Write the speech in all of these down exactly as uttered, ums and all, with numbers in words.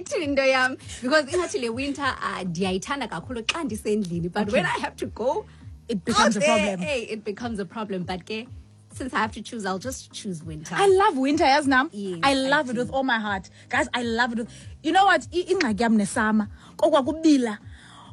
Ithini into yam? Because ingathi le winter uh, ndiyayithanda kakhulu xa ndisendlini, but when I have to go It becomes out a there, problem. hey, it becomes a problem. But ke, since I have to choose, I'll just choose winter. I love winter, yazi nam. Yes, I love I it with all my heart. Guys, I love it with You know what? I- Ingxaki yam nesummer. Kokwa kubila.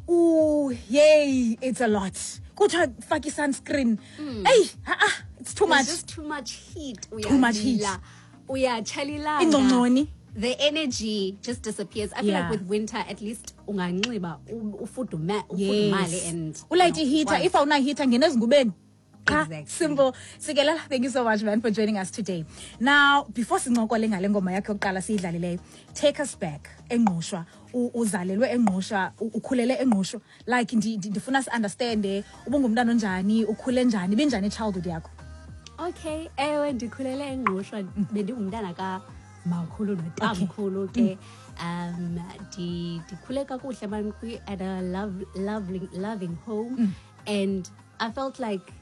Ooh, yay, it's a lot. Kuthiwa faka sunscreen. Hey, ah, ah, it's too There's much. just too much heat. Too much heat. Uyabila, uyatsha Ingcongconi. The energy just disappears. I feel Yeah. like with winter, at least unganxiba u- ufudume- ufudumale Yes. and Ulayite you know, iheater. ukwazi. If awuna heater ngena ezingubeni. Qha, Exactly. Simple. Sikelela, thank you so much, man, for joining us today. Now, before sincokole ngale ngoma yakho yokuqala siyidlalileyo, take us back eNgqushwa. U- Uzalelwe eNgqushwa, u- ukhulele eNgqushwa. Like ndi- ndi- ndifuna si-understande ubungumntana onjani, ukhule njani, ibinjani childhood yakho? Okay, ewe, ndikhulele eNgqushwa. Bendingumntana kamakhulu notamkhulu ke. Um ndi- ndikhule kakuhle man kwi- at a love, loving, loving home, and I felt like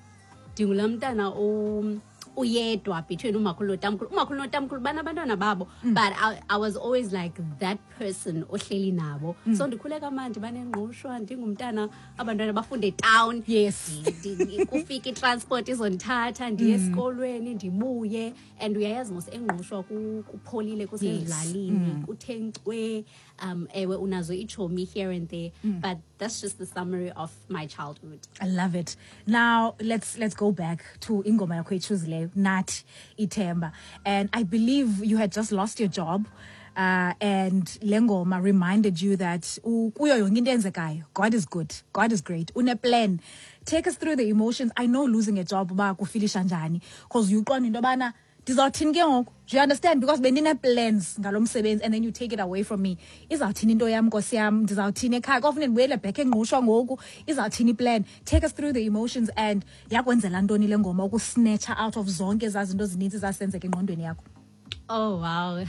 ndingulaa mntana o- uyedwa between umakhulu notamkhulu. Umakhulu notamkhulu banabantwana babo, but I, I was always like that person ohleli nabo. So ndikhule kamandi baneNgqushwa, ndingumntana abantwana bafunde town. Yes. Ndi- ndi- kufika itransport izondithatha ndiye esikolweni, ndibuye. And uyayazi mos eNgqushwa ku- kupholile, kusezilalini, kuthe nkcwe. um ewe unazo iitshomi here and there, but that's just the summary of my childhood. I love it. Now let's let's go back to ingoma yakho oyichoozileyo, Nathi Ithemba. And I believe you had just lost your job. Uh, and le ngoma reminded you that u- kuyo yonke into eyenzekayo, God is good, God is great, une plan. Take us through the emotions. I know losing a job uba kufeelisha njani, because uqonda into yobana ndizawuthini ke ngoku. Do you understand? Because bendine-plans ngalo msebenzi and then you take it away from me. Izawuthini into yam, nkosi yam? Ndizawuthini ekhaya? Kofuneka ndibuyele back eNgqushwa ngoku. Izawuthini iplan? Take us through the emotions and yakwenzela ntoni le ngoma ukusnatcha out of zonke ezaa zinto zininzi zasenzeka engqondweni yakho? Oh wow.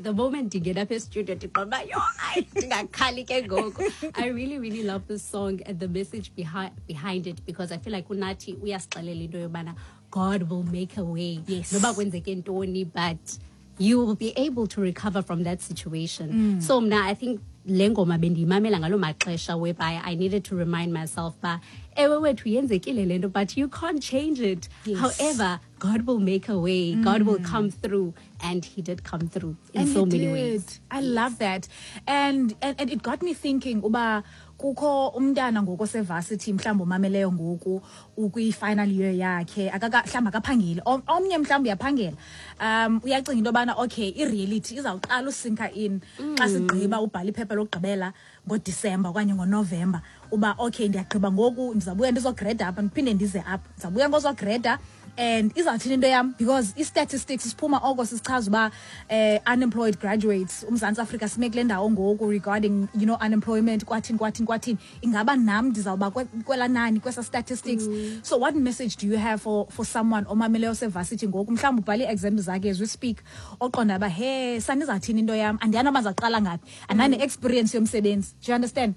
The moment ndingena apha estudio ndiqonda uba yho, hayi, ndingakhali ke ngoku. I really, really love this song and the message behind behind it, because I feel like uNathi uyasixelela into yobana God will make a way. Yes. Noba kwenzeke ntoni, but you will be able to recover from that situation. So mna, I think le ngoma bendiyimamela ngaloo maxesha whereby I needed to remind myself uba ewe wethu, yenzekile le nto, but you can't change it. Yes. However, God will make a way. God will come through, and he did come through in And so he many did. Ways. I love that. And, and and it got me thinking uba kukho umntana ngoku osevarsity, mhlawumbi umameleyo ngoku, ukwi-final year yakhe, akaka mhlawumbi akaphangeli. Om- omnye mhlawumbi uyaphangela, um uyacinga into yobana okay, i-reality izawuqala usinka in xa sigqiba ubhala iphepha lokugqibela ngoDisemba okanye ngoNovemba, uba okay, ndiyagqiba ngoku, ndizawubuya ndizogreda apha, ndiphinde ndize apha, ndizawubuya ngozogreda and izawuthini into yam? Because i-statistics siphuma oko sisichaza uba eh, unemployed graduates, uMzantsi Afrika sime kule ndawo ngoku regarding you know unemployment, kwathini, kwathini, kwathini. Ingaba nam ndizawuba kwe- kwelaa nani kwesa statistics? So what message do you have for, for someone omameleyo osevarsity ngoku, mhlawumbi ubhale ii-exams zakhe as we speak, oqonda uba he sanizawuthini into yam, andiyani noba ndizawuqala ngaphi, andinane-experience yomsebenzi? Do you understand?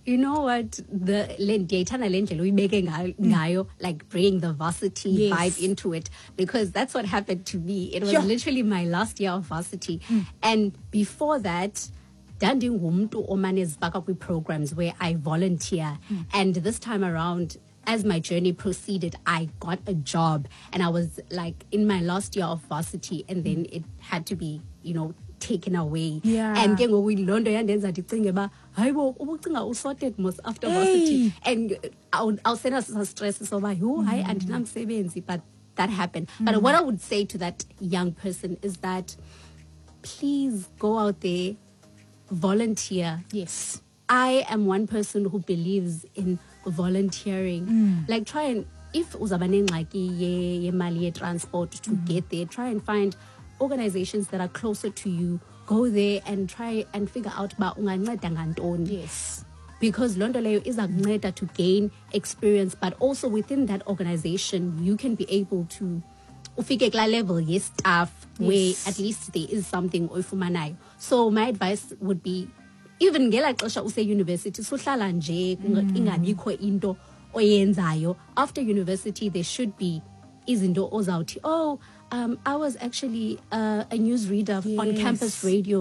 You know what, the le ndiyayithanda le ndlela uyibeke nga- ngayo, like bringing the varsity Yes. vibe into it, because that's what happened to me. It was Sure. literally my last year of varsity, and before that ndandingumntu omane ezifaka kwii-programs where I volunteer. And this time around, as my journey proceeded, I got a job and I was like in my last year of varsity, and then it had to be you know taken away. Yeah. And ke ngoku loo nto yandenza ndicinge uba hayibo, ubucinga usorted mos after Hey. varsity, and awusenaso stress soba yho, hayi, andinamsebenzi. But that happened. But what I would say to that young person is that please go out there, volunteer. Yes I am one person who believes in volunteering. Like, try and, if uzaba nengxaki ye- yemali ye-transport to get there, try and find organizations that are closer to you. Go there and try and figure out uba unganceda ngantoni. Yes Because loo nto leyo iza kunceda to gain experience, but also within that organization you can be able to ufike kulaa level ye-staff where Yes. at least there is something oyifumanayo. So my advice would be, even ngelaa xesha useyunivesithi, suhlala nje kunga- ingabikho into oyenzayo. After university there should be izinto ozawuthi, "Oh, um, I was actually uh, a newsreader on Yes. campus radio."